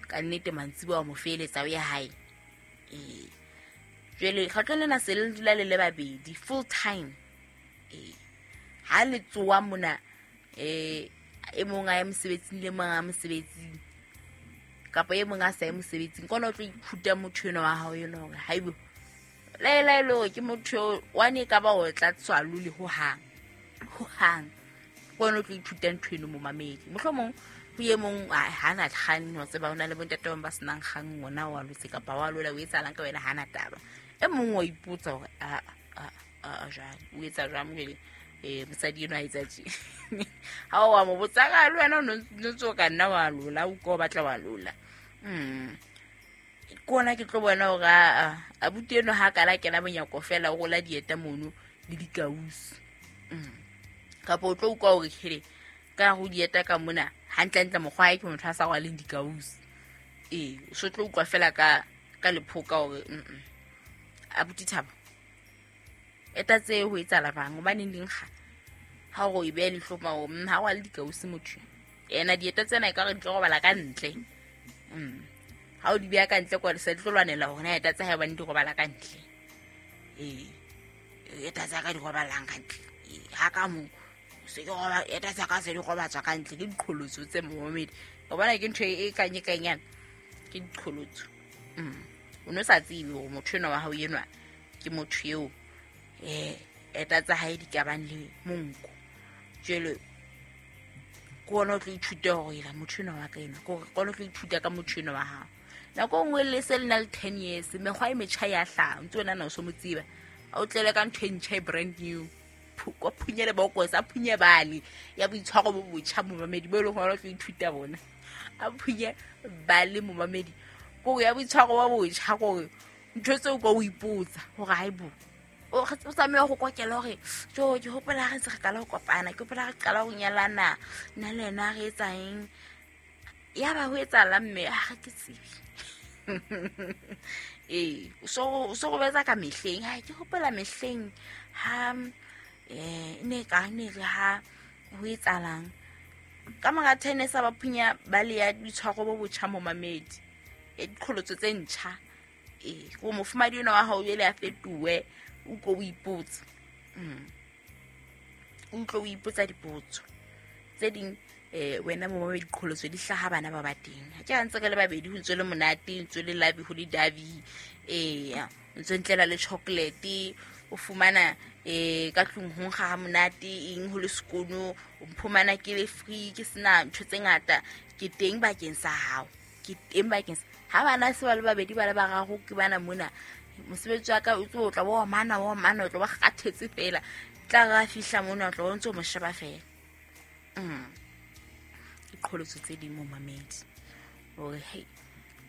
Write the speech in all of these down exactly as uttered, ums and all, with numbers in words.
Ka nnete mantsiboya wa mo feeletsa o ya hae. Ee, jwale kgetlong lena se le dula le le babedi full time. Ee, ha le tsoa mona, um e mong a ye mosebetsing le mong a mosebetsing, kapa e mong a sa ye mosebetsing, ke ona o tlo ithuta motho enwa wa hao enwa hore haibo laela e le hore ke motho eo wane e ka ba o tla tswa lole hohang hohang. Ke ona o tlo ithuta ntho eno, momamedi. Mohlomong ho e mong ha na kgang, wa tseba, ho na le bontate bang ba senang kgang, ngwana wa lotse kapa wa lola, o etsahalang ka wena, ha na taba. E mong wa ipotsa hore a a a jwale o etsa jwang jwale, um mosadi enwa a etsa tje. Ha o wa mo botsa ka le wena o no ntse o ka nna wa lola, o ka o batla wa lola. Mm ke ona ke tlo bona hore aa abuti eno ha kala kena monyako fela o rola dieta mono le dikausi. Mm kapa o tlo utlwa hore hele ka ho dieta ka mona hantlentle mokgwa hae ke motho a sa rwaleng dikausi. Ee, o so tlo utlwa fela ka ka lephoka hore mm abuti Thabo eta tse ho etsahala bang hobaneng di nkga ha o e beha leihlo ma mm ha rwale dikausi motho ena, dieta tsena e ka re di tlo robala ka ntle. Mm ha o di beha ka ntle kwa se di tlo lwanela hore na eta tsa hae hobane di robala ka ntle. Ee, eta tsa ka di robalang ka ntle ha ka mo se ke roba eta tsa ka se di robatswa ka ntle. Ke diqholotso tse, momamedi, o bona ke ntho e kanye kanyana, ke diqholotso. Mm o no sa tsebe hore motho enwa wa hao enwa ke motho eo um eta tsa hae di ka bang le monko. Jwale ke ona o tlo ithuta hore ela motho enwa wa ka enwa, ke hore ke ona o tlo ithuta ka motho enwa wa hao. Nako e nngwe le se le na le ten years, mekgwa e metjha ya hlaha, o ntse o nahana o so mo tseba, a o tlele ka ntho e ntjha e brand new, ko phunye le bokose, a phunye bale ya boitshwaro bo botjha, momamedi, bo e leng hore o tlo ithuta bona. A phunye bale, momamedi, kore ya boitshwaro bo botjha, kore ntho tseo ka o ipotsa hore haibo o tlameha ho kokela hore jo ke hopola ha re ntse re qala ho kopana, ke hopola re qala ho nyalana nna le yena re etsa eng, ya ba ho etsahalang mme ha ke tsebe. Ee, o so o robetsa ka mehleng, ha ke hopola mehleng ha um ne ka ne re ha ho etsahalang ka mora ten years ba phunya ba le ya boitshwaro bo botjha, momamedi, ya diqholotso tse ntjha. Ee, ko mofumadi enwa wa hao jwale a fetohe, o utlwe o ipotsa, o utlwe o ipotsa dipotso tse ding. um wena momamedi, diqholotso di hlaha bana ba ba teng. Ha ke ha ntse re le babedi ho ntse le monate, ntse le labi ho le dabi, ee, ntse ntlela le chocolate, o fumana um ka tlung ho nkga ha monate, eng ho le sekono, o mphumana ke le free, ke sena ntho tse ngata, ke teng bakeng sa hao, ke teng bakeng sa ha bana se ba le babedi ba le bararo ke bana mona. Mosebetsi wa ka o tlo tla bo mana o mana, o tlo ba kgathetse fela, tla re a fihla mona o tlo o ntse o mo sheba fela. Mm diqholotso tse ding, momamedi, hore hei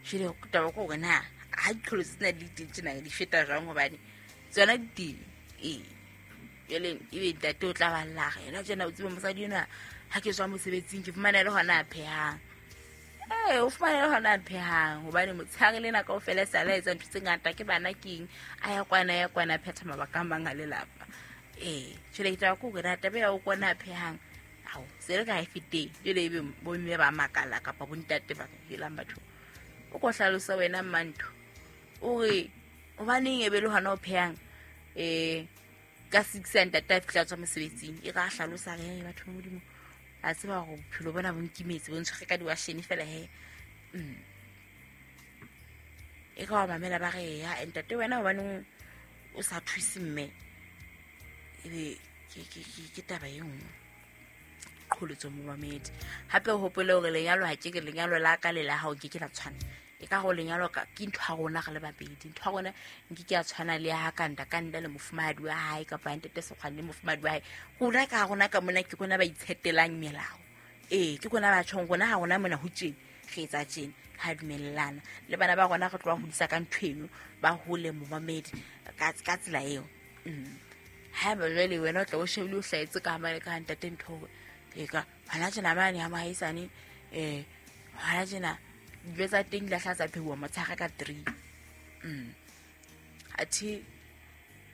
jwale taba ke hore na ha diqholotso tsena di le teng tjena di feta jwang, hobane tsona di teng. Ee, jwale ebe ntate o tla ba lla re yena tjena, o tsebe mosadi enwa ha ke tswa mosebetsing ke fumana le hona a phehang. Ee, o fumana le hona a phehang, hobane motshehare lena kaofela e sale a etsa ntho tse ngata, ke bana keng, a ya kwana, a ya kwana, a phetha mabaka a mang a lelapa. Ee, jwale ke taba ke hore na taba ya o kwana a phehang ao se le ka ha e feteng. Jwale ebe bomme ba makala kapa bontate ba helang batho, o ko hlalosa wena mmantho o re hobaneng e be le hona o phehang um ka six ya ntate a fihla a tswa mosebetsing. E re a hlalosa re batho ba Modimo a tseba hore bophelo bona bo nkimetse, bo ntshwere ka diwashene fela he. Mm e ka wa mamela ba re ya ntate wena hobaneng o sa thuse mme, ebe ke ke ke taba e nngwe qholotso, momamedi. Hape o hopole hore lenyalo ha ke ke lenyalo la ka le la hao ke ke la tshwana. E ka go lenyalo ka ke ntho ya rona re le babedi, ntho ya rona nke ke ya tshwana le ya ha kanda kanda le mofumahadi wa hae kapa ntate Sekgwane le mofumahadi wa hae. Rona ka rona ka mona ke rona ba itshetelang melao. Ee, ke rona ba tjhong rona ha rona mona ho tjena re etsa tjena, ha dumellana le bana ba rona re tlo ba hodisa ka ntho eno, ba hole, momamedi, ka ka tsela eo. Mm haeba jwale wena o tla o shebile o hlahetse ka mane ka ntate ntho hore e ka hona tjena mane ha mohaisane um hona tjena dijo tsa teng di lahla tsa pheuwa motshehare ka three. mm athe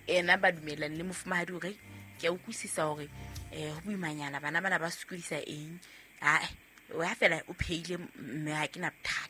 ena ba dumellane le mofumahadi hore ke a utlwisisa hore um ho boimanyana bana bana ba sokodisa eng, ae wa fela o phehile mme ha ke na bothata.